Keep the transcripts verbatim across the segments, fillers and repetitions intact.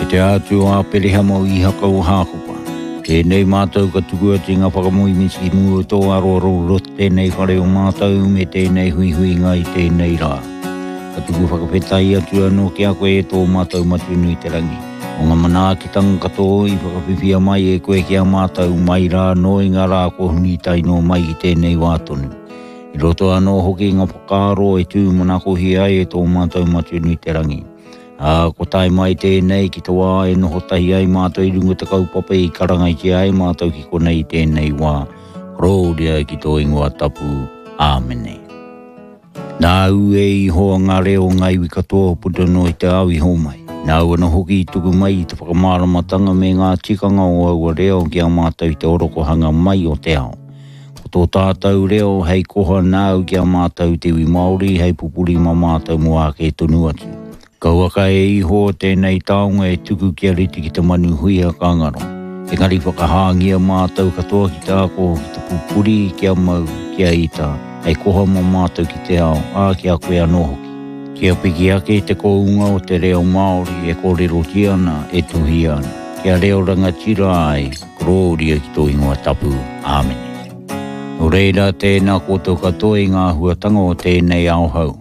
E te Atua o Aperehama o Ihaka o Hākopa, tēnei mātou ka tuku atu i ngā whakamoemiti ki mua o tō aroaro i roto tēnei whare o mātou me tēnei huihuinga i tēnei rā. Ka tuku whakawhetai atu anō ki a koe e tō mātou Matua nui te rangi, o ngā manaakitanga katoa i whakawhiwhia mai e koe ki a mātou mai rā anō i ngā rā kua huri tae noa mai ki tēnei wā tonu. I roto anō hoki ngā whakaaro e tūmanakohia ai e tō mātou Matua nui te rangi. Ā, ko tae mai tēnei ki te wā e noho tahi ai mātou i runga te kaupapa i karangaitia ai mātou ki konei i tēnei wā. Korōria ki tō ingoa tapu. Āmene. Nāu e Ihowa ngā reo o ngā iwi katoa puta noa i te ao i homai. Nāu anō hoki i tuku mai i te whakamāramatanga me ngā tikanga o aua reo ki a mātou i te orokohanga mai o te ao. Ko tō tātou reo hei koha nāu ki a mātou te iwi Māori hei pupuri mā mātou mō ake tonu atu. Kauaka e Ihowa tēnei taonga e tuku kia rite ki te manu huia ka ngaro. Engari whakahāngia mātou katoa ki te ako, ki te pupuri, kia mau, kia ita, hei koha mā mātou ki te ao, ā, ki a koe anō hoki. Kia piki ake te kounga o te reo Māori e kōrerotia ana, e tuhia ana. Kia reo rangatira ai, korōria ki tō ingoa tapu. Āmene. Nō reira, tēnā koutou katoa i ngā āhuatanga o tēnei ao hou.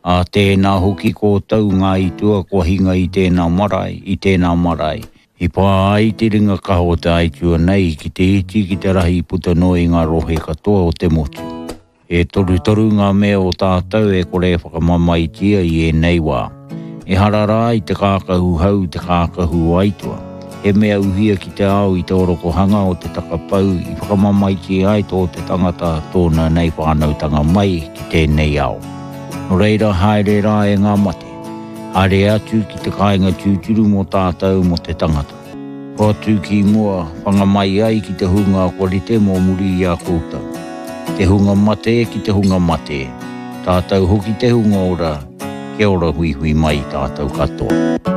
Ā tēnā hoki koutou ngā itua kua hinga i tēnā marae, i tēnā marae. I pā ai te ringa kaha o te aitua nei ki te iti ki te rahi puta noa i ngā rohe katoa o te motu. E torutoru ngā mea o tātou e kore e whakamamaetia i ēnei wā. Ehara rā i te kākahu hau te kākahu o aitua. He mea uhia ki te ao i te orokohanga o te takapau i whakamamaetia ai tō te tangata tōna nei whānautanga mai ki tēnei ao. Nō reira haere rā e ngā mate. Haere atu ki te kāinga tūturu mō tātou mō te tangata. Hoatu ki mua, whanga mai ai ki te hunga kua rite mō muri i a koutou. Te hunga mate ki te hunga mate. Tātou hoki te hunga ora, kia ora huihui mai tātou katoa.